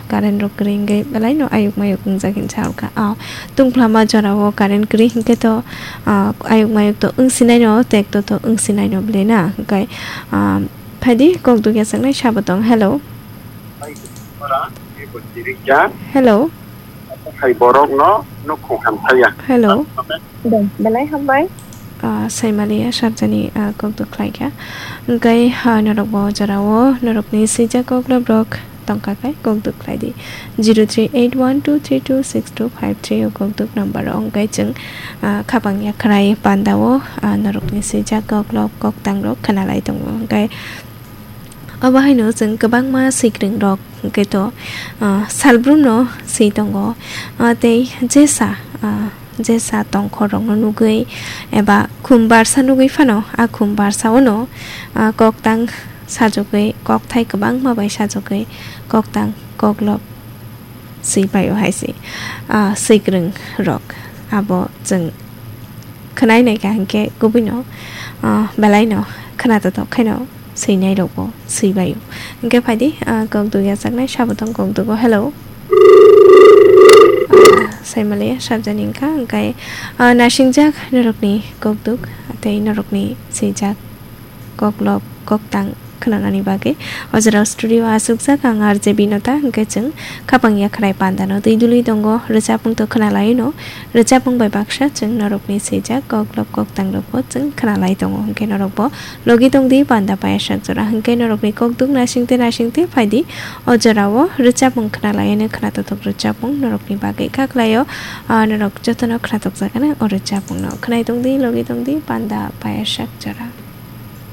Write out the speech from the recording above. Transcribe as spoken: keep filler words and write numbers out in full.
Current rok kwrwi hwnkhe belai no ayuk mayuk wngjak hinwi sa rwkha. Ah, tungphla ma jora o current kwrwi hwnkhe to, ah, ayuk mayuk to wngsinai no, tek to to wngsinai no bwlwi na. Hwnkhe, ah, phaidi kok dugya saknai sabo tong. Hello. Hello. Hai borok no nukhung hamsaya. Hello. Belai hambai. Ah, Saimaliya Sarjani, ah, kok duk khlai kha. Hwnkhe, ah, norok bo jora o norokni swijak kok lob rok tongkha khe kok duk khlai di. Zero three eight one two three two six two five three o kok duk number o hwnkhe chwng, ah, khapang yakhrai panda o, ah, norokni swijak kok lob kok tang rok khna lai tongo. Hwnkhe obo haino chwng kwbangma swikwrwng rok hwnkhe to, ah, salbrum no swi tongo. Ah, tei jesa, ah, jesa tongkhor rokno nugwi eba khum barsa nugwi phano, a khum barsa o no, ah, kok tang sajagwi, kokthai kwbangma bai sajagwi, kok tang kok lob swi bai o hai se, ah, swikwrwng rok. Abo chwng khwnai nai kha hwnkhe kubui no, ah, belai no khna totok khaino swinai rok bo swi bai o. Hwnkhe phaidi, ah, kok dugya saknai sabo tong kok dugo. Hello. Ah, Saimaliya Sarjani wngkha, hwnkhe, ah, nasingjak norokni kok duk tei norokni swijak kok lob kok tang khwnanani bagwi. O jora studio o achukjak ang R J Binota, hwnkhe chwng khapang yakhrai panda no twi dului tongo, rwchapmung to khna lai no, rwchapmung bai baksa chwng norokni swijak kok lob kok tang rok bo chwng khna lai tongo, hwnkhe norok bo logi tong di panda payasak jora, hwnkhe norokni kok duk nasing te nasing te phaidi o jora o rwchapmung khna lai no, khna totok rwchapmung norokni bagwi kha khlai o, ah, norok jotono khna tokjak ani o rwchapmung no khwnai tong di, logi tong di panda payasak jora.